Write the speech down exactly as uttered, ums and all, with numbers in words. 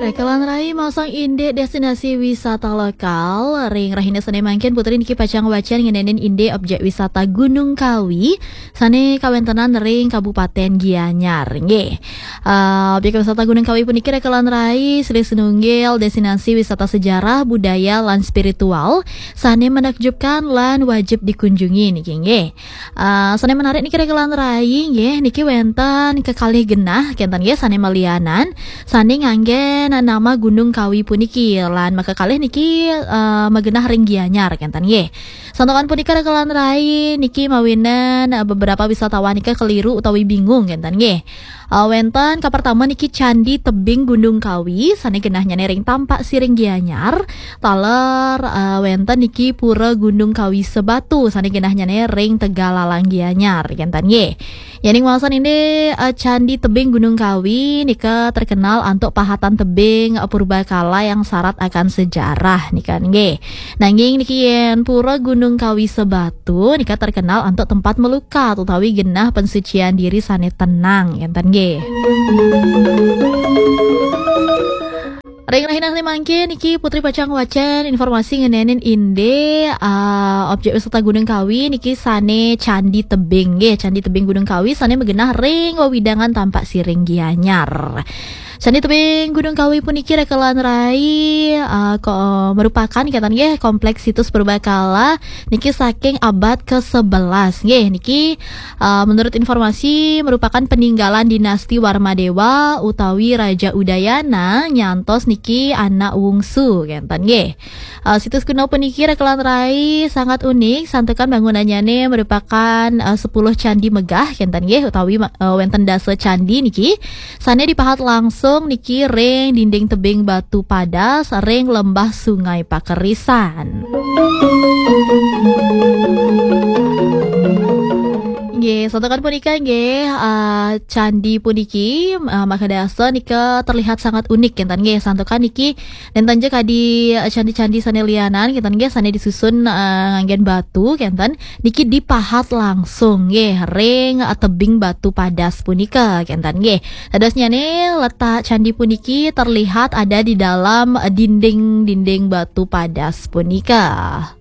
Rekelan rai maosang indik destinasi wisata lokal. Ring rahina sane mangkin Putri niki pacang wacen ngenenin indik objek wisata Gunung Kawi sane kawentenan ring Kabupaten Gianyar. Nggih. Uh, objek wisata Gunung Kawi puniki rekelan rai silih sinunggil destinasi wisata sejarah, budaya, lan spiritual sane menakjubkan lan wajib dikunjungi niki nggih. Uh, sane menarik niki rekelan rai nggih, niki wenten kekalih genah kenten nggih sane malianan sane nganggen nama Gunung Kawi puniki lan makakalih niki uh, magenah ring Gianyar kenten nggih. Santukan punika rekelan rai niki mawinan uh, beberapa wisatawan nika keliru utawi bingung kenten nggih. Uh, wenten kapertama niki Candi Tebing Gunung Kawi sane genahnyane ring Tampak Siring Gianyar, taler uh, wenten niki Pura Gunung Kawi Sebatu sane genahnyane ring Tegalalang Gianyar kenten nggih. Yening waosan indik uh, Candi Tebing Gunung Kawi nika terkenal antuk pahatan tebing uh, purbakala yang syarat akan sejarah nika nggih. Nanging niki yen Pura Gunung Kawi Sebatu nika terkenal antuk tempat melukat utawi genah pensucian diri sane tenang kenten nggih. Ring rahina sane mangkin niki Putri pacang wacen informasi ngenenin indik uh, objek wisata Gunung Kawi niki sane Candi Tebing nggih, Candi Tebing Gunung Kawi sane magenah ring wewidangan Tampak Siring Gianyar. Candi Tebing Gunung Kawi puniki rekelan rai uh, ko, merupakan kenten nggih kompleks situs purbakala niki saking abad ke sebelas nggih. Niki uh, menurut informasi merupakan peninggalan dinasti Warmadewa utawi Raja Udayana nyantos niki anak wungsu kenten nggih. Uh, situs kuno puniki rekelan rai sangat unik santukan bangunannyane merupakan uh, sepuluh candi megah kenten nggih utawi uh, wenten dasa candi niki sane dipahat langsung niki ring dinding tebing batu padas ring lembah Sungai Pakerisan. Nggih, santukan punika nggih uh, candi puniki uh, makadasa nika terlihat sangat unik kenten nggih. Santukan niki nenten ja kadi uh, candi-candi sane lianan kenten nggih sane disusun uh, nganggen batu kenten niki dipahat langsung nggih ring uh, tebing batu padas punika kenten nggih. Dadosnyane letak candi puniki terlihat ada di dalam uh, dinding-dinding batu padas punika.